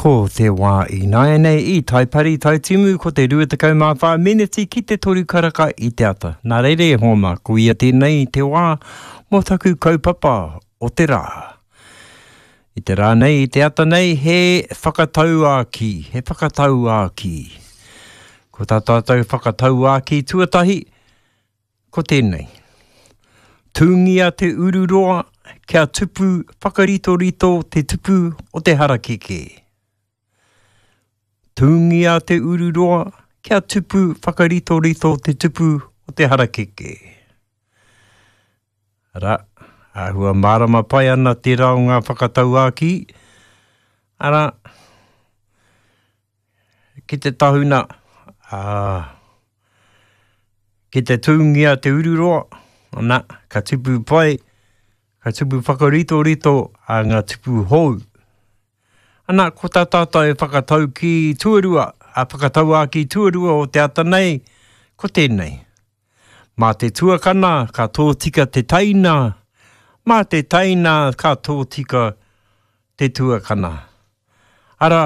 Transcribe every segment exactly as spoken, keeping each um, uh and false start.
Ko te wā ināianei i Taipari Taitimu ko te rua tekau mā whā meneti ki te toru karaka i te ata. Nā reira e hoa mā, ko ia tēnei te wā mō taku kaupapa o te rā. I te rā nei, i te ata nei, he whakatauākī, he whakatauākī. Ko tā tātou whakatauākī tuatahi, ko tēnei. Tūngia te ururoa kia tupu whakaritorito te tupu o te harakeke. Tūngia te ururoa kia tupu whakaritorito te tupu o te harakeke. Arā, āhua mārama pai ana tērā o ngā whakatauākī. Arā, ki te tahuna, ā, ki te tūngia te ururoa, ana, ka tupu pai, ka tupu whakaritorito a ngā tupu hou. Ana, ko tā tātou whakataukī tuarua, a whakatauākī tuarua o te ata nei, ko tēnei. Mā te tuakana ka tōtika te teina, mā te teina ka tōtika te tuakana. Arā,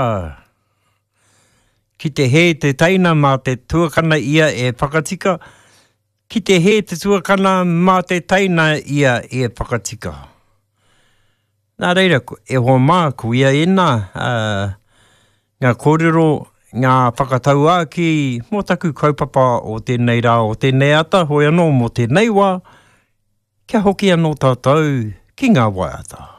ki te hē te teina mā te tuakana ia e whakatika, ki te hē te tuakana mā te teina ia e whakatika. Nā reira, e hoa mā, ko ia ēnā, uh, ngā kōrero, ngā whakatauākī mō taku kaupapa o tēnei rā, o tēnei ata, hoi anō mō tēnei wā, kia hoki anō tātou ki ngā waiata.